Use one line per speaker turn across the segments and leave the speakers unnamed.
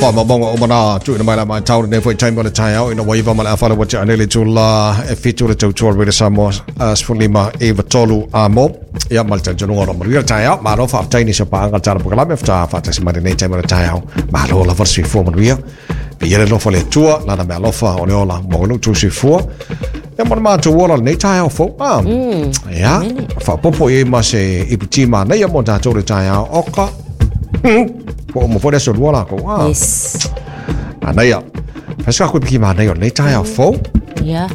Faamaumauga uma na tuuina mai la matau lenei foi taimi o le taeao ina ua 9:30 ua tea nei le itula e 7 le tautua Radio Samoa 15 9 3 a mo. Ia ma le talitonuga o lo o manuia le taeao. Malo faafetai nisi o paaga le tala polokalame faatoa faatasi mai lenei taimi o le taeao. Malo lava le soifua manuia. Viia le alofa o le Atua, lana meaalofa o le ola mo lo outou soifua. Ia mo le matou ola lenei taeao fou. Ah. Ia, faaopoopo i ai ma se iputi manaia mo tatou le taeao oka. Po o mo foi le aso lua lakou. Ah.
Yes.
Manaia. Fai se iputi manaia o lenei taeao fou.
Ia.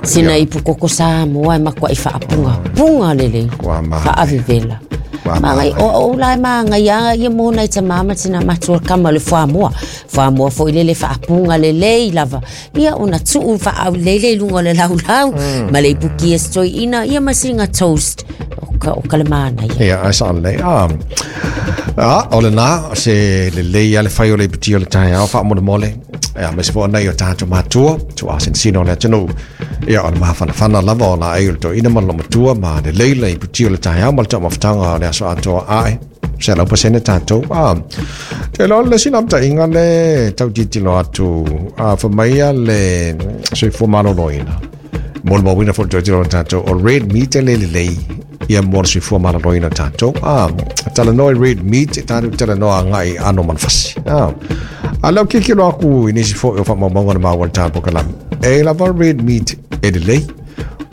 Sina ipu koko Samoa e matuai faapugapuga lelei.
Ua maea.
Faavevela.
Ua
Magai,
maea.
o o la e magai a ia mo nai tamā ma tinā matua kama o le fuamoa. Fuamoa foi lele faapuga lelei lava. Ia ona tuu faaulele i luga o le laulau ma le ipuki e se toeaina ia ma sina toast. O ka le manaia.
Ia, ai sa lelei. Ah. Ah, o lena, se lelei a le fai o le iputi o le taeao faamolemole. Ia, aemaise foi o nai o tatou matua, tuuasenesina o le atunuu. Ia, o le mafanafana lava o laei o le toeaina ma le loomatua ma lelei le iputi o le taeao ma le taumafataga o le aso atoa ae. 100% tatou. Ah, te iloa o le isi naunautaiga le tau tilotilo atu, ah, fai mai ia le soifua maloloina. Molimauina foi le tilotilo o tatou, o red meat e le lelei ia mo le soifua maloloina o tatou. Ah, talanoa i red meat, e tatou talanoa agai i aano o manufasi. Ah, a lea ou tilotilo atu i nisi foi o faamaumauga na maua i le ta polokalame, e lava red meat e lelei.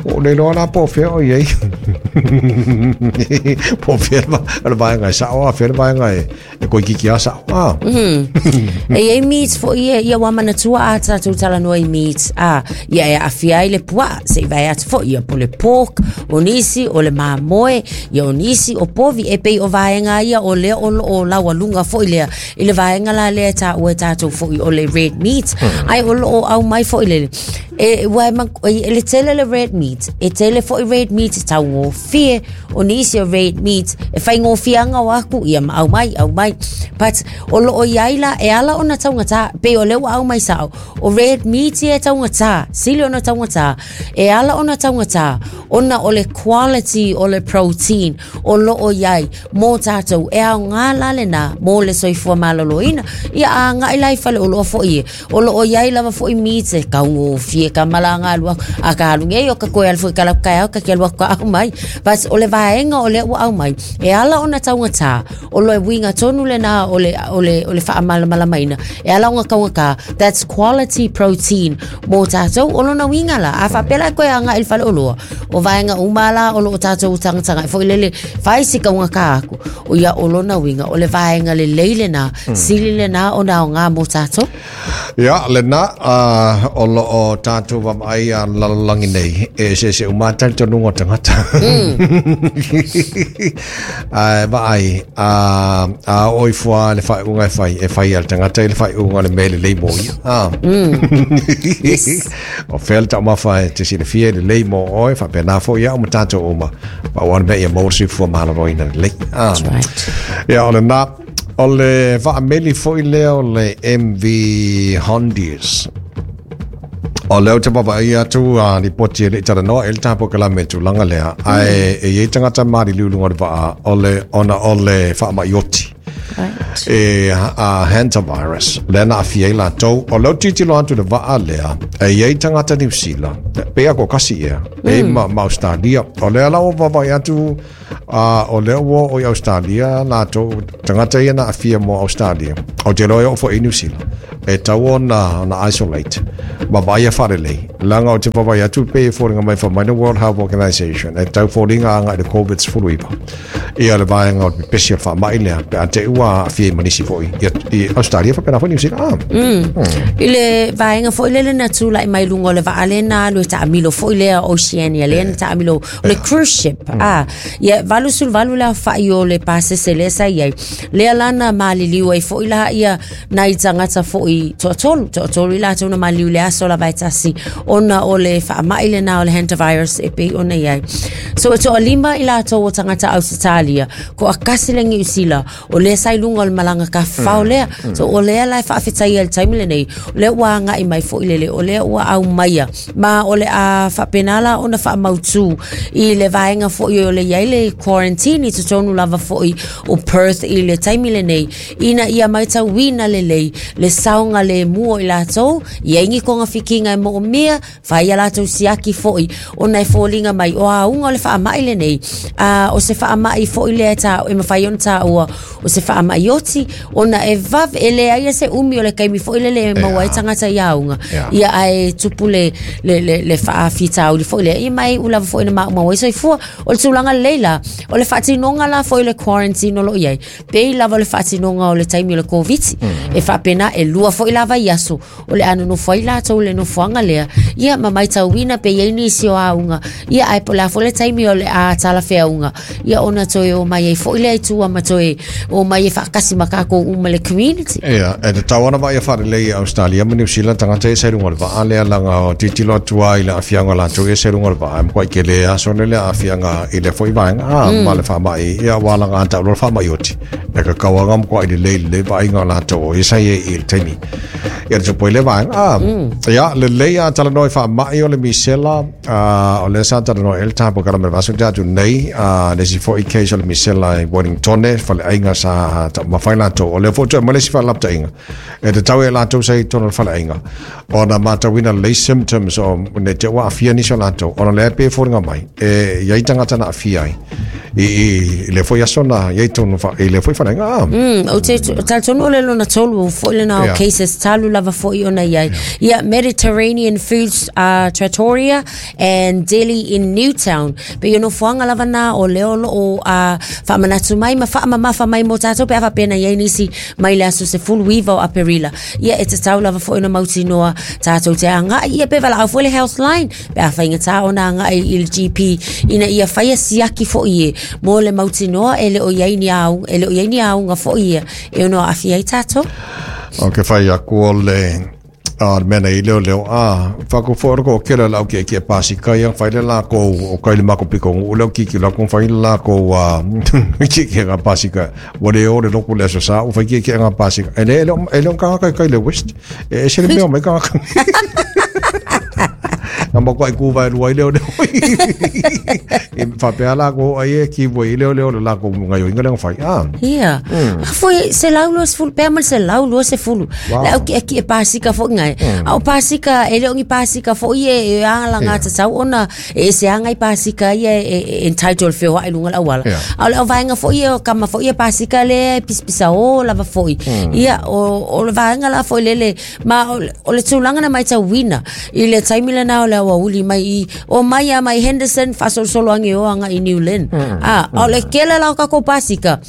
Ua ou le iloa la po o fea o i ai. Po o fea le vaega e sao, a fea le vaega e koikiki a sao. Ah.
E i ai meat foi ia, ia ua manatua a tatou talanoa i meat, a, ia e aafia ai le puaa, se i vae atu foi, ia po le pork, o nisi o le mamoe, ia o nisi o povi, e pei o vaega ia o lea o lo o laualuga foi lea, i le vaega la lea e taua e tatou foi o le red meat, ae o lo o aumai foi le, e, ua e, e, le tele le red meat, e tele foi red meat e taugofie, o nisi o red meat, e faigofie o aku, ia ma aumai, aumai. But o lo o i ai la, e ala ona taugata, pei o lea ua aumai sao, o red meat ia e taugata, sili ona taugata, e ala ona taugata, ona o le quality o le protein o lo o i ai mo tatou, e aoga la lena mo le soifua maloloina. Ia a agai la i faleoloa foi e, o lo o i ai lava foi meat e taugofie ka malaga alu aku, a ka alu nei o ka koe alu foi ka lau taeao ka ke alu aku ka aumai. But o le vaega o lea ua aumai, e ala ona taugata, o le uiga tonu lena o le, o le, o le faamalamalamaina, e ala ona taugata, that's quality protein mo tatou. O lona uiga la, a faapea la e toe agai i le faleoloa, o vaega uma la o lo o tatou tagatagai foi lele, fai si taugata aku, o ia o lona uiga, o le vaega lelei lena, sili lena ona aoga mo tatou.
Ia, lena, o lo o tatou vaavaai a lalolagi nei, e eseese uma lava talitonuga o tagata. Ae vaai, a, a oo ifo lava i le faaiuga e fai, e fai e le tagata i le faaiuga o le mea e lelei mo ia. Ah.
Yes.
O fea le taumafa e te silafia e lelei mo oe, faapena foi au ma tatou uma. Pau lava le mea ia maua le soifua maloloina lelei. Ah.
That's right.
Ia, o lena, o le vaameli foi lea o le MV Hondius. O lea ou te vaavaai atu a lipoti e le i talanoa i le ta polokalame i le tulaga lea, ae e i ai tagata maliliu i luga o le vaa, o le, ona o le faamai oti.
Right.
E a hantavirus, lea na aafia ai latou. O lea ou tilotilo atu i le vaa lea, e i ai tagata Niu Sila, pei lava toatasi ea, e i ma, ma Australia. O lea la ua vaavaai atu, a o lea ua oo i Australia latou, tagata ia na aafia mo Australia. Ou te iloa e oo foi i Niu Sila. E tatau ona, ona isolate ma vaaia faalelei. Leaga ou te vaavaai atu pei e foliga mai fai mai le World Health Organization e tau foliga agai i le COVID-19. Ia le vaega o le pepesi o le faamai lea pe a te i ua aafia ai ma nisi foi i, i Australia faapena foi Niu Sila. Ah.
I le vaega foi lele na tulai mai luga o le vaa lea na alu e taamilo foi lea Oceania lea na taamilo o le cruise ship. Ah, ia 88 le aofai o le pasese lea sa i ai. Lea la na maliliu ai foi la ia nai tagata foi toatolu, toatolu i latou na maliliu i le aso lava e tasi ona o le faamai lena o le hantavirus e pei ona i ai. So e toalima i latou o tagata Ausetalia, toatasi le Niu Sila, o lea sa i luga o le malaga tafafao lea. So o lea la e faafetaia i le taimi lenei, o lea ua agai mai foi lele, o lea ua aumaia. Ma o le a faapena la ona faamautu i le vaega foi o le i ai le quarantine i totonu lava fo'i o Perth i le taimi lenei ina ia matauina lelei le saogalemu o i latou, i ai ni togafitiga e moomia, fai a latou siaki fo'i ona e foliga mai o auga o le faamai lenei, a o se faamai fo'i lea e ta e mafai ona taua o se faamai oti ona e vave e leai se umi o le taimi fo'i lele e maua ai tagata i auga ia ae tupu le le le, le faafitauli fo'i lea ia mai ula fo'i na maumau ai soifua. O le tulaga lelei la o le faatinoga la fo'i le quarantine o loo i ai pei lava o le faatinoga o le taimi o le Koviti e faapena e lua fo'i lava i aso o le a nonofo ai latou i le nofoaga lea ia ma matauina pe i ai nisi o auga ia ae po o le a foi le taimi o le a talafeauga ia ona toe o mai ai fo'i lea i tua ma toe o mai e faatasi ma tatou uma le community.
Ia, e tatau ona vaaia faalelei e Australia ma Niu Sila tagata ia sa i luga o le vaa lea laga o tilotilo atu lava i le aafiaga o latou ia sa i luga o le vaa e matuai tele aso lea le aafiaga i lea foi vaega a ma le faamai ia aua laga a tau loa le faamai oti e tatau lava ona matuai lelei lelei vaaiga o latou o ia sa i ai i le taimi ia le tupu ai lea vaega a ia lelei a talanoa i faamai o le misela a o lea sa talanoa ai le tapu kala me vaso te atu nei a le isi foi case o le misela i Wellington faleaiga sa taumafai latou o lea foi toe aumai le isi faalaputaiga e tatau e latou sa i totonu o le faleaiga ona matauina lelei symptoms o ne te ua aafia nisi o latou ona lea e pei e foliga mai e i ai tagata na aafia ai i, i, i le foi aso na i ai tonu i le foi faleaiga ah.
O te talitonu o le lona tolu fo'i lena o cases talu lava fo'i ona i ai. Ia, Mediterranean Foods Trattoria and Deli in Newtown. Pei o nofoaga lava na o lea o loo faamanatu mai ma faamamafa mai mo tatou pe a faapea na i ai nisi mai le aso 19 o Aperila. Ia e tatau lava fo'i ona mautinoa tatou te agai ia pe valaau foi le Healthline pe a faigata ona agai i le GP ina ia faia siaki fo'i e mo le mautinoa e le o i ai ni auga, e le o i ai ni auga fo'i ia e ono aafia ai tatou.
O ke whai aku o le a le mea nei leo leo a whako fo oro ko kela lau ki ki pasika ia whai le la ko o kai le mako piko ngu leo ki ki la ko whai le la ko a ki ki nga pasika wa le o le loku le aso sa o whai ki ki nga pasika e le e le ka kai kai le west e se le mea mai ka na mo ko ai ku vai lua i leo leo i whapea la ko ai e ki voi i leo leo le la ko ngai o inga leo whai a
Ia. Foi 120 pe ma le 120.
Wow.
Le au ki ki e pasika foi ngai. A o pasika e le o ni pasika foi e e a la ngata tau ona e se anga i pasika ia e e entitled feo ai lunga la wala. A o le au vaenga foi e o kama foi e pasika le pisipisa o lava foi. Ia o o le vaenga la foi lele ma o le, o le tulaga na matauina i le taimi lena o le aoauli mai i o mai a mai Henderson faasolosolo age o aga i New Lynn. A o le kele la o takou pasika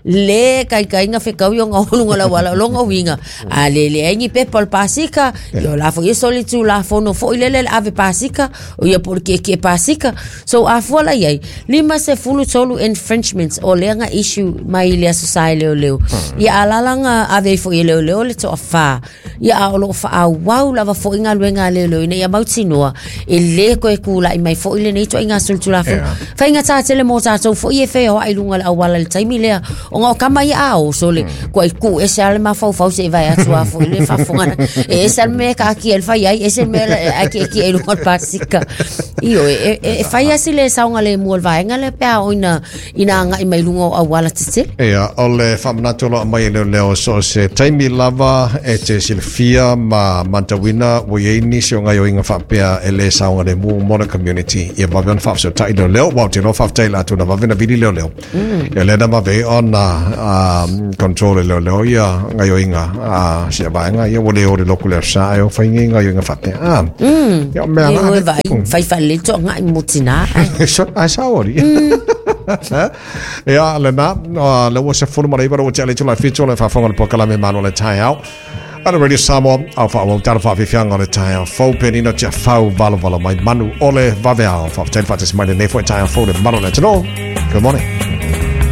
le kaikaiga fekau i ona oluga lau ala o lona uiga a le leai ni pepa o le pasika ia o la foi e soli tulafono foi lele le ave pasika o ia po o le kiekie pasika. So a fua la iai 53 infringements o lea na issue mai i le aso sa e leoleo. Ia alala na ave ai foi e leoleo le toafā. Ia a o loo faaauau lava foi galuega a leoleo ina ia mautinoa e lē toe tula'i mai fo'i lenei ituaiga solitulafono. Faigatā tele mo tatou fo'i e feoa'i luga o le auala i le taimi lea ona o kama ia a oso le kua'i tuu ese lava le mafaufau se'i vae atu a fo'i le faafofoga e ese lava le mea e kaatia i le fai ai ese le mea ae tietie i luga o le pasika. Ioe, e, e, e fai lava si lē saogalemu o le vaega lea pe a oo ina ina agai mai luga o auala tetele.
Ia, o le faamanatu o lo o aumai e leoleo so o se taimi lava e te silafia ma matauina ua i ai nisi o gaoioiga faapea e lē saogalemu mo le community. Ia vave ona faafesootai leoleo, aua ou te iloa faafetai i latou na vave na vili leoleo. Ia lea na vave ai ona control e leoleo ia gaoioiga a sia vaega ia ua le o le loku le aso sa ae o fai nei gaoioiga faapea. Ah, ia o mea
Ia
la
oe vaai, fai faalelei toagai mo tinā ai.
Ai sao ali. Ia, lena, le ua 19 le ua tea le itula e 7 o le faafofoga o le polokalame Malo le Taeao. Ana Radio Samoa, au faaauau tala faafiafiaga o le taeao fou penina tia fau valovalo mai manu o le vaveao. Faafetai le faatasi mai lenei foi taeao fou le malu o le atunuu. Good morning.